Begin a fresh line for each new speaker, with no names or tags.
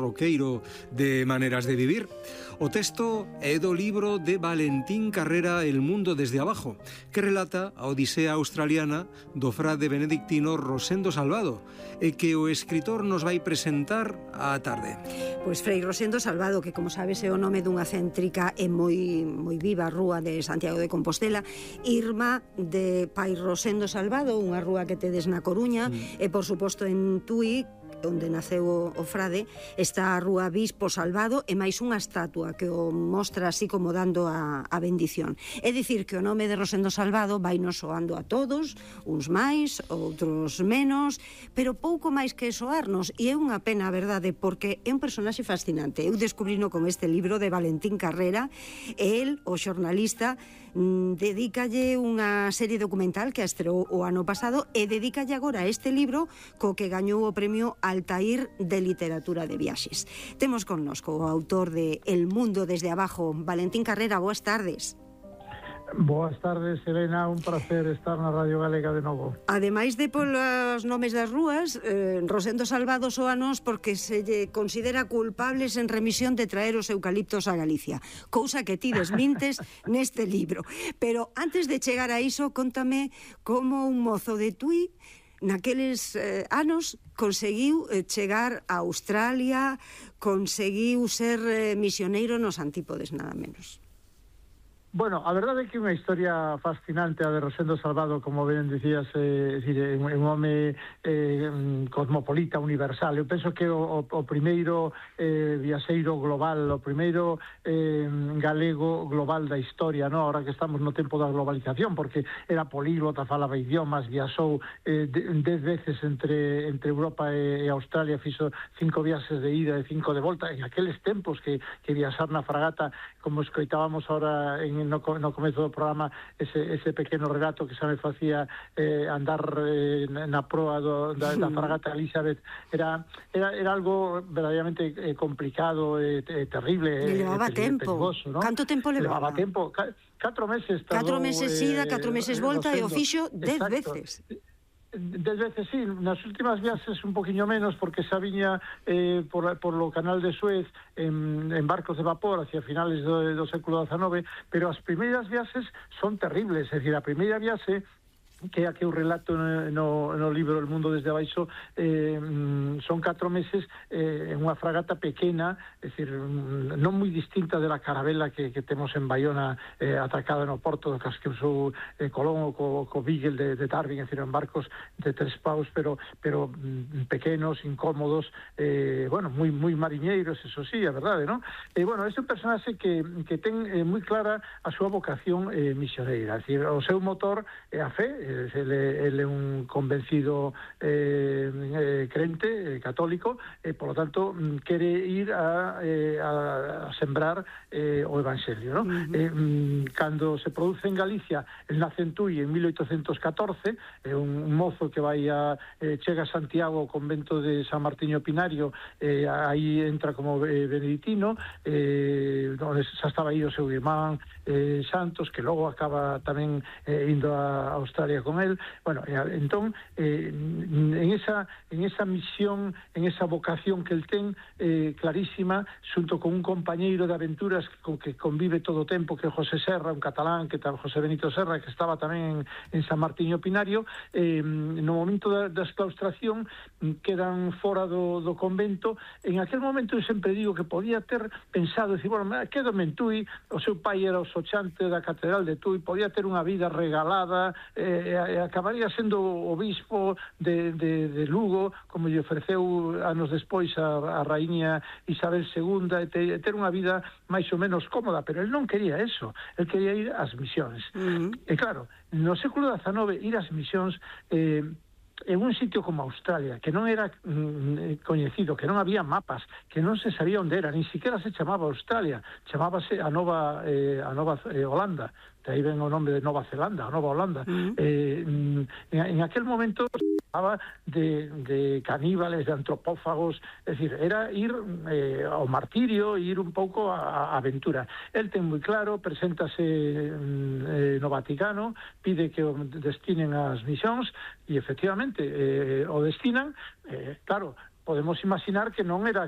troqueiro de maneiras de vivir. O texto é do libro de Valentín Carrera El mundo desde abajo, que relata a odisea australiana do frade benedictino Rosendo Salvado, e que o escritor nos vai presentar á tarde.
Pois Frei Rosendo Salvado, que como sabes é o nome dunha céntrica e moi viva rúa de Santiago de Compostela, irmá de Pai Rosendo Salvado, unha rúa que tedes na Coruña, e por suposto en Tui, onde naceu o frade, está a rúa Bispo Salvado e máis unha estatua que o mostra así como dando a bendición. É dicir que o nome de Rosendo Salvado vai nos soando a todos, uns máis, outros menos, pero pouco máis que soarnos, e é unha pena, a verdade, porque é un personaxe fascinante. Eu descubrino con este libro de Valentín Carrera, e el, o xornalista, dedícalle unha serie documental que a estreou o ano pasado e dedícalle agora a este libro co que gañou o premio Altair de Literatura de Viaxes. Temos connosco o autor de El mundo desde abajo, Valentín Carrera. Boas tardes.
Boas tardes, Elena, un placer estar na Radio Galega de novo.
Ademais de polos nomes das rúas, Rosendo Salvado soanos porque se lle considera culpable sen remisión de traer os eucaliptos a Galicia, cousa que ti desmintes neste libro. Pero antes de chegar a iso, contame como un mozo de Tui naqueles anos conseguiu chegar a Australia, conseguiu ser misioneiro nos antípodes, nada menos.
Bueno, a verdade é que é unha historia fascinante a de Rosendo Salvado, como ben dicías, é un home cosmopolita, universal. Eu penso que o primeiro viaxeiro global, o primeiro galego global da historia, no? Ahora que estamos no tempo da globalización, porque era políglota, falaba idiomas, viaxou 10 veces entre Europa e Australia, fixo 5 viaxes de ida e 5 de volta, en aqueles tempos que viaxar na fragata, como escoitábamos ahora no comezo do programa, ese pequeno relato que xa me facía andar na proa da fragata Elizabeth, era algo verdadeiramente complicado e terrible,
levaba tempo, perigoso, ¿no? Canto tempo levaba?
Levaba tempo, 4 meses.
4 meses ida, 4 meses volta, e o fixo 10 veces.
10 veces, sí, nas últimas viaxes un poquinho menos, porque xa viña por lo canal de Suez en barcos de vapor hacia finales do século XIX, pero as primeiras viaxes son terribles. É dicir, a primeira viaxe, que é a que eu relato no libro El mundo desde abaixo, son 4 meses en unha fragata pequena, é dicir, non moi distinta da carabela que temos en Baiona, atracada no porto do que usou Colón co Beagle de Darwin, é dicir, en barcos de 3 paus, pero pequenos, incómodos, bueno, moi mariñeiros, eso sí, a verdade, non? Bueno, este é un personaxe que ten moi clara a súa vocación misioneira, é dicir, o seu motor é a fe. Ele é un convencido crente, católico, e, por lo tanto, quere ir a sembrar o Evangelio, ¿no? Cando se produce en Galicia, el nace en Tui en 1814, é un mozo que vai chega a Santiago, ao convento de San Martiño Pinario, aí entra como beneditino, onde xa estaba aí o seu irmán Santos, que logo acaba tamén indo a Australia con él. Bueno, entón, en esa misión, en esa vocación que el ten clarísima, xunto con un compañeiro de aventuras que convive todo o tempo, que é José Serra, un catalán, que José Benito Serra, que estaba tamén en San Martiño Pinario, no momento da exclaustración quedan fora do convento. En aquel momento eu sempre digo que podía ter pensado, decir, bueno, quédome en Tui, o seu pai era o sochante da catedral de Tui, podía ter unha vida regalada, acabaría sendo obispo de Lugo, como lle ofreceu anos despois a raíña Isabel II, e ter unha vida máis ou menos cómoda, pero el non quería eso, el quería ir ás misións. E claro, no século XIX ir ás misións en un sitio como Australia, que non era coñecido, que non había mapas, que non se sabía onde era, nin siquiera se chamaba Australia, chamábase a Nova Holanda, de aí ven o nome de Nova Zelanda, a Nova Holanda. En aquel momento se falaba de caníbales, de antropófagos, é dicir, era ir ao martirio, ir un pouco a aventura. El ten moi claro, preséntase no Vaticano, pide que o destinen as misións, e efectivamente o destinan. Claro, podemos imaginar que non era